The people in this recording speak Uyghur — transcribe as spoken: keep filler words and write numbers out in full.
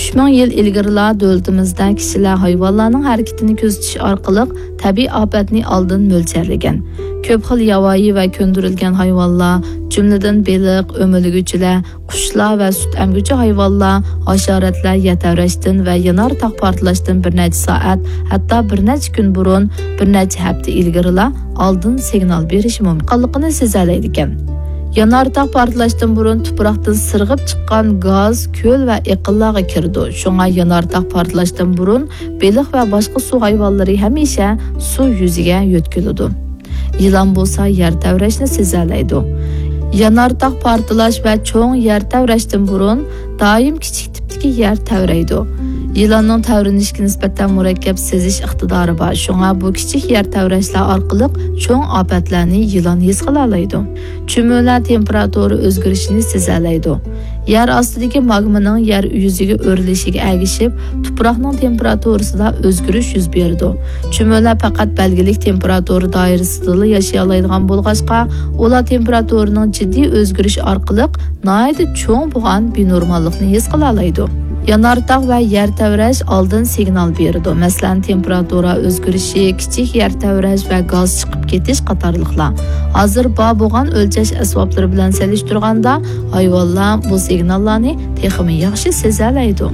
ئۈچ مىڭ يىل ئىلگىرىلا دۆلىتىمىزدە كىشىلەر ھايۋانلارنىڭ ھەرىكىتىنى كۆزىتىش ئارقىلىق تەبىئىي ئاپەتنى ئالدىن مۆلچەرلىگەن. كۆپ خىل ياۋايى ۋە كۆندۈرۈلگەن ھايۋانلار، جۈملىدىن بېلىق، ئۆمىلىگۈچىلەر، قۇشلار ۋە سۈت ئەمگۈچى ھايۋانلار، ھاشاراتلار يەر تەۋرەشتىن ۋە يانار تاغ پارتلاشتىن بىر نەچچە سائەت، ھەتتا بىر نەچچە كۈن بۇرۇن، بىر نەچچە ھەپتە ئىلگىرىلا ئالدىن سىگنال بېرىشى مۇمكىنلىقىنى سېزەلەيدىكەن. يانار تاغ پارتلاشتىن بۇرۇن تۇپراقتىن سىرغىپ چىققان گاز كۆل ۋە ئېقىنلارغا كىرىدۇ. شۇڭا يانار تاغ پارتلاشتىن بۇرۇن بېلىق ۋە باشقا سۇ ھايۋانلىرى ھەمىشە سۇ يۈزىگە يۆتكىلىدۇ. يىلان بولسا يەر تەۋرەشنى سېزەلەيدۇ. يانار تاغ پارتلاش ۋە چوڭ يەر تەۋرەشتىن بۇرۇن دائىم كىچىك تىپتىكى يەر تەۋرەيدۇ. يىلاننىڭ تەۋرىنىشكە نىسبەتەن مۇرەككەپ سېزىش ئىقتىدارى بار، شۇڭا بۇ كىچىك يەر تەۋرەشلەر ئارقىلىق چوڭ ئاپەتلەرنى يىلان ھېس قىلالايدۇ. چۈمۈلە تېمپېراتۇرا ئۆزگىرىشىنى سېزەلەيدۇ. يەر ئاستىدىكى ماگمىنىڭ يەر يۈزىگە ئۆرۈلۈشىگە ئەگىشىپ، تۇپراقنىڭ تېمپېراتۇرىسىدا ئۆزگىرىش يۈز بېرىدۇ. چۈمۈلە پەقەت بەلگىلىك تېمپېراتۇرا دائىرىسىدىلا ياشىيالايدىغان بولغاچقا، ئۇلار تېمپېراتۇرىنىڭ جىددىي ئۆزگىرىشى ئارقىلىق ناھايىتى چوڭ بولغان بىنورماللىقنى ھېس قىلالايدۇ. يانار تاغ ۋە يەر تەۋرەش ئالدىن سىگنال بېرىدۇ. مەسىلەن، تېمپېراتۇرا ئۆزگىرىشى، كىچىك يەر تەۋرەش ۋە گاز چىقىپ كېتىش قاتارلىقلار. ھازىر بار بولغان ئۆلچەش ئەسۋابلىرى بىلەن سېلىشتۇرغاندا، ھايۋانلار بۇ سىگناللارنى تېخىمۇ ياخشى سېزەلەيدۇ.